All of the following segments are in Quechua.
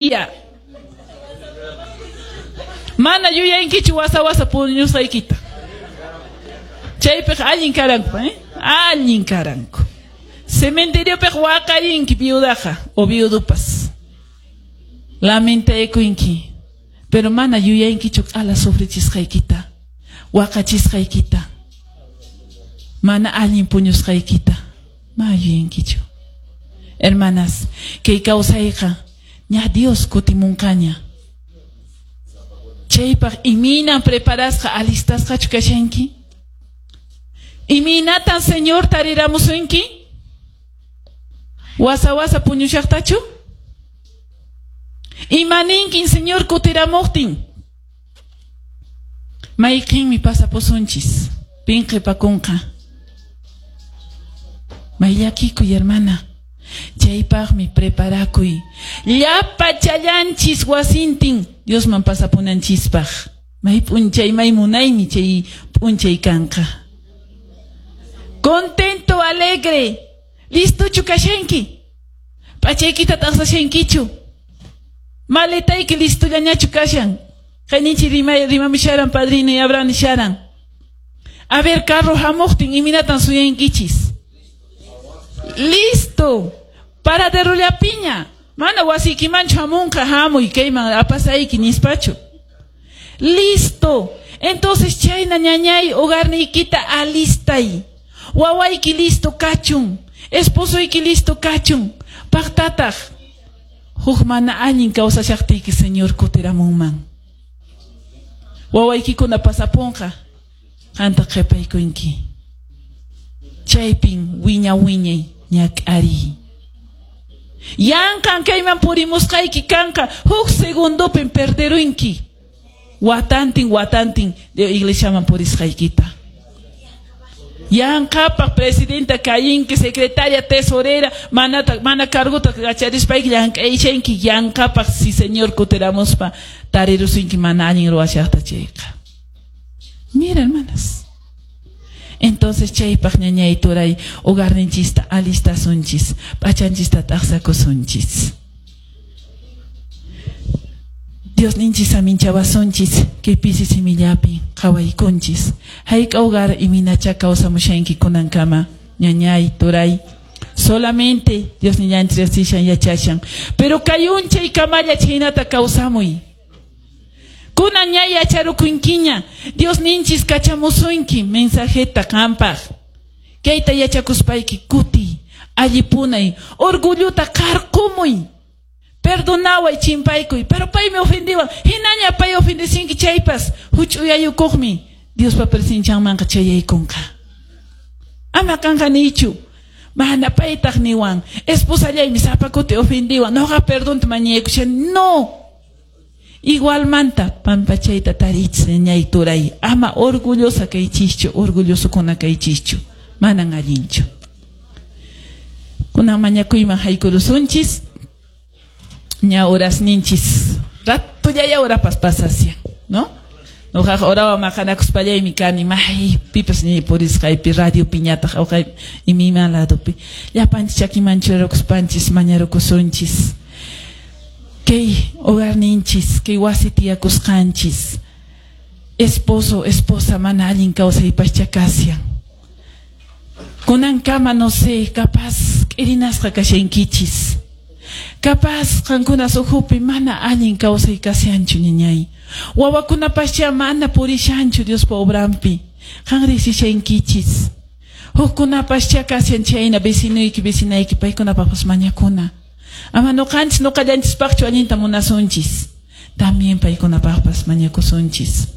Ya. Mana yuyankichu wasa wasa puñusqaykita. Chaypiqa allin karanku, eh? Allin karanku. Cementeriopiqa waqarinki viudaqa o viudupas. Lamentaykunki. Pero mana yuyankichu q'ala sufrichisqaykita, waqachisqaykita, mana allin puñusqaykita. Ma yuyankichu. Hermanas, kay kawsayqa ña Dios kutimunqaña. Chaypaq imaynan preparasqa alistasqachu kashanki? Imaynatan Señor tariramusunki? Wasa wasa puñushaqtachu? Imaninkin Señor kutiramuqtin? Mayqinmi pasapusunchis? Pin qhipakunqa? May llakikuy, hermana. Chaypaqmi preparakuy. Llapa challanchis wasintin Diosman pasapunanchispaq. May p'unchay, may munaymi chay p'unchay kanqa. Contento, alegre. Listochu kashanki? P'achaykita t'aqsashankichu? Maletayki listollañachu kashan? Qayninchi rimamusharan padrino y Abraham nisharan. A ver, carro hamuqtin imaynatan suyankichis? Listo. Paraderollapiña. Mana wasiykimanchu hamunqa hamuy kayman apasayki nispachu. Listo. Entonces chayna ñañay hogarniykita alistay. Wawayki listo kachun. Esposoyki listo kachun. Paqtataq. Huk mana allin kawsashaqtiyki Señor kutiramunman. Wawaykikuna pasapunqa. Qanta qhipaykunki. Chaypin wiña wiñay ñak'ariy. Yanqan kayman purimusqayki kanqa huk segundopin perderunki. Watantin watantin de iglesiaman purisqaykita. Yanqapaq presidenta kayinki, secretaria, tesorera, mana cargota kacharispayki llank'ayshanki yanqapaq si Señor kutiramuspa tarirusunki mana allin ruwashaqta chayqa. Mira, hermanas. Entonces chaypaq ñañay turay hogarninchista alistasunchis, p'achanchista t'aqsakusunchis. Dios ninchis aminchawasunchis, kay pisi simillapi qhawaykunchis. Hayk'a hogar iminacha kawsamushanki kunankama, ñañay turay. Solamente Dios nillanchis riqsishan yachashan. Pero kay unchay kamalla chhaynata kawsamuy. Kunan ña yacharukunkiña, Dios ninchis kachamusunki mensajeta qanpaq. Kayta yachakuspayki kuti, allipunay, orgulluta qarqumuy. Perdonaway chimpaykuy, pero paymi ofendiwan. Hinaña pay ofendesinki chaypas, huch'uyayukuqmi Diospa presencianmanqa chayaykunqa. Ama kanqa niychu. Mana paytaq niwan, esposallaymi sapa kuti ofendiwan, noqa perdonta mañaykushani. No. Igualmanta pampachayta tariychis ñañay turay. Ama orgullosa kaychischu, orgullosokuna kaychischu. Manan allinchu. Kunan mañakuyman haykurusunchis. Ña horasninchis. Ratullaya horapas pasasyan, ¿no? Noqaqa horawan maqanakuspallaymi kani, maypipas ni purisqaypi, radiopiñataq awqay imima ladopi. Llapanchis chakiman churarukuspanchis mañarukusunchis. Kay hogarninchis, kay wasi tiyakusqanchis. Esposo, esposa mana allin kawsaypascha kashan. Kunankama no sé, capaz k'irinasqa kashankichis. Capaz qankunas ukhupi mana allin kawsay kashanchu ñañay. Wawakunapascha mana purishanchu Diospa obranpi. Qan riqsishankichis. Hukkunapascha kashan chayna vecinuyki vecinayki paykunapaqpas mañakuna. Ama noqanchis noqallanchispaqchu allinta munasunchis. También paykunapaqpas mañakusunchis.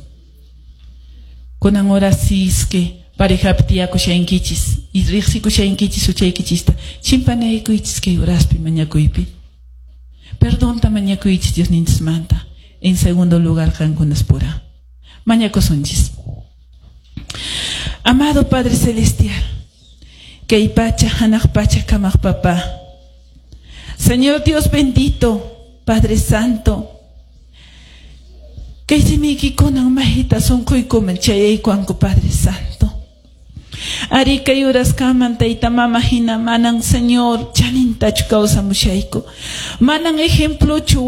Kunan horas que parejapi tiyakushankichis y riqsikushankichis huchaykichista chimpanaykuychis kay horaspi mañakuypi. Perdonta mañakuychis Diosninchismanta. En segundo lugar qankunas pura. Mañakusunchis. Amado Padre Celestial, kay pacha hanaq pacha kamaq papá. Señor Dios bendito, Padre Santo, kay simiykikunan mahita sunquykuman chayaykuwanku Padre Santo. Ari kay uraskaman tayta mama hina manan Señor chanintachu kawsamushayku. Manan ejemplochu.